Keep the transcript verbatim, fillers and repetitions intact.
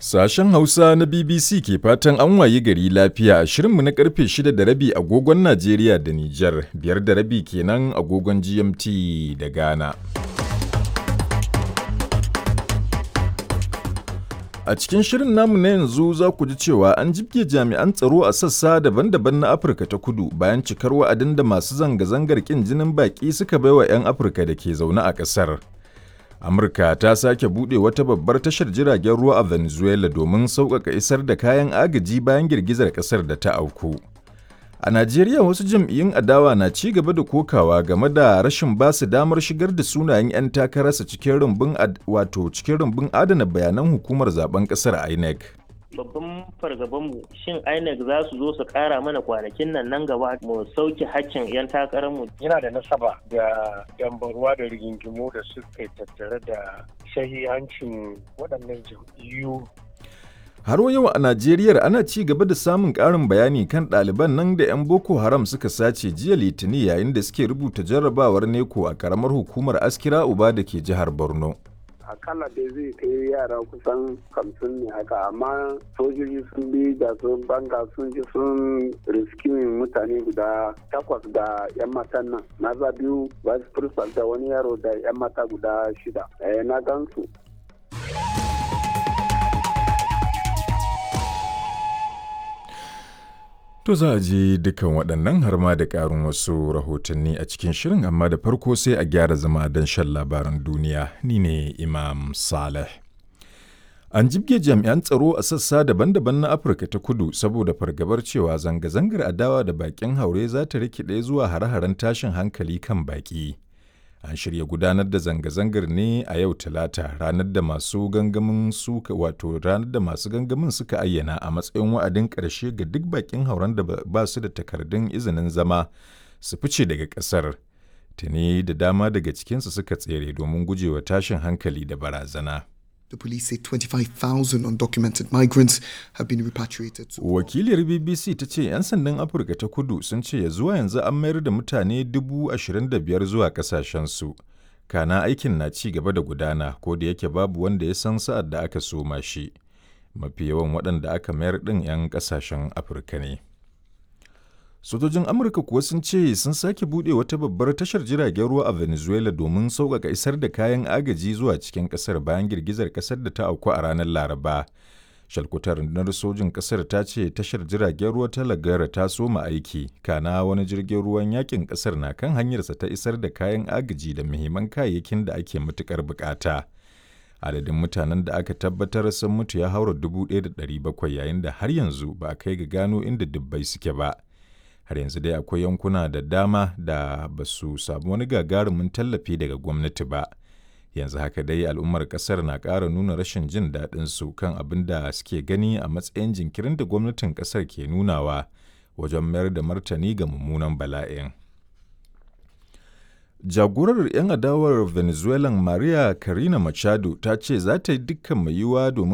Sashen Hausa na B B C ke fatan an wayi gari lafiya a shirinmu na karfe shida da rabi agogon Najeriya da Nijar, biyar da rabi kenan agogon G M T da Ghana. A cikin shirin namu na yanzu za ku ji cewa an jibge jami'an tsaro a sassa daban-daban na Afirka ta Kudu bayan cikar wa'adin da masu zanga-zangar ƙin jinin baƙi suka baiwa 'yan Afirka da ke zaune a ƙasar. Amurka ta sake buɗe wata babbar tashar jiragen ruwa a Venezuela domin sauƙaƙa isar da kayan agaji bayan girgizar ƙasar da ta auku. A Najeriya, wasu jam'iyyun adawa na ci gaba da kokawa game da rashin ba su damar shigar da sunayen 'yan takararsa cikin rumbun wato cikin rumbun adana bayanan hukumar zaben ƙasar INEC. Babban fargabanmu, shin INEC za su zo su kara mana kwanakin nan nan gaba mu sauke hakkin 'yan takararmu? Yana da nasaba da dambarwa da rigingimu da suka tattare da shahihancin waɗannan jam'iyyu. Har yau a Najeriya, ana ci gaba da samun ƙarin bayani kan ɗaliban nan da 'yan Boko Haram suka sace jiya Litinin yayin da suke rubuta jarrabawar NECO a ƙaramar hukumar Askira Uba da ke jihar Borno. Akalla dai zai kai yara kusan hamsin ne haka, amma sojoji sun bi da sun banga, sun ji sun riskimin mutane guda takwas da yan matan nan, maza biyu, vice principal da wani yaro da yan mata guda shida. Na gansu. To, za a ji dukan waɗannan har ma da ƙarin wasu rahotanni a cikin shirin, amma da farko sai a gyara zama don shan labaran duniya. Ni ne Imam Saleh. An jibge jami'an tsaro a sassa daban-daban na Afirka ta Kudu saboda fargabar cewa zanga-zangar adawa da bakin haure za ta rikide zuwa hare-haren tashin hankali kan baki. An shirya gudanar da zanga-zangar ne a yau Talata, ranar da masu gangamin suka wato ranar da masu gangamin suka ayyana a matsayin wa'adin ƙarshe ga duk bakin hauren da ba su da takardun izinin zama su fice daga ƙasar. Tuni da dama daga cikinsu suka tsere domin gujewa tashin hankali da barazana. The police say twenty-five thousand undocumented migrants have been repatriated. Wakiliyar B B C ta ce 'yan sandan Afirka ta Kudu sun ce ya zuwa yanzu an mayar da mutane dubu ashirin da biyar zuwa kasashensu. Kana aikin na ci gaba da gudana, ko da yake babu wanda ya san sa'ad da aka soma shi. Mafi yawan waɗanda aka mayar ɗin 'yan ƙasashen Afirka ne. Sojojin Amurka kuwa sun ce sun sake buɗe wata babbar tashar jiragen ruwa a Venezuela domin sauƙaƙa isar da kayan agaji zuwa cikin ƙasar bayan girgizar ƙasar da ta auku a ranar Laraba. Shalkutar rundunar sojin ƙasar ta ce tashar jiragen ruwa ta Lagara ta soma aiki, kana wani jirgin ruwan yakin ƙasar na kan hanyarsa ta isar da kayan agaji da muhimman kayayyakin da ake matuƙar buƙata. Adadin mutanen da aka tabbatar sun mutu ya haura dubu ɗaya da ɗari bakwai, yayin da har yanzu ba a kai ga gano inda dubbai suke ba. Har yanzu dai akwai yankuna da dama da ba su samu wani gagarumin tallafi daga gwamnati ba. Yanzu haka dai al'ummar kasar na ƙara nuna rashin jin daɗin su kan abin da suke gani a matsayin jinkirin da gwamnatin kasar ke nunawa wajen mayar da martani ga mummunan bala'in. Jagorar 'yan adawar Venezuelan Maria Karina Machado ta ce za ta yi dukkan mai yiwuwa domin